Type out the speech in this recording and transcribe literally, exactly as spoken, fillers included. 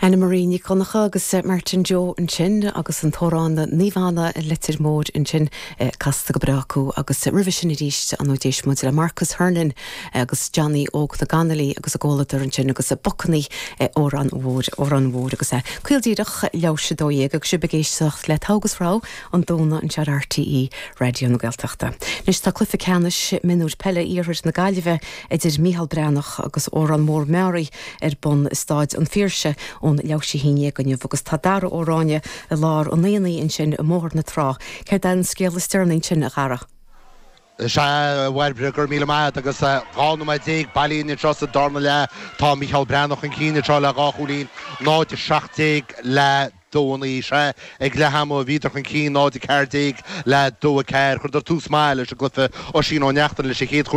Anna Marie Ní Choncha agus Martin Joe ansin agus an t-amhrán Naomh Anna Leitir Móir ansin casta go breá acu agus roimhe sin arís an d'éist muid le Marcus Hernon agus Johnny Óg na Ganalaí agus a gcomhluadar ansin agus a Bucannaí amhrán mhór amhrán mhór agus é. Caol díreach leis a dó dhéag agus sibh ag éisteacht le Togha agus Rogha an Domhnaigh anseo ar RTÉ Raidió na Gaeltachta. Anois tá cluiche ceannais mionúir peile iarthar na Gaillimhe idir Mícheál Breathnach agus Órán Mór Meáraí ar bun i Staid an Phiarsaigh ón leathuair tar éis a haon inniu agus tá Dara Ó Ráinne i lár an aonaigh ansin i mBóthar na Trá. Céard é an scéal is deireanaí ansin a Dhara. Sé bhairbre gur míle maith agus dhá nóiméad déag bailithe anseo sa darna leath tá Micheál Breathnach chun cinn anseo le dhá chúilín náid seacht déag le dó naoi sé ag leath ama bhíodar chun cinn náid ceathair déag le dó ceathair chuireadar tús maith leis an gcluiche Oisín Ó Neachtain leis an chéad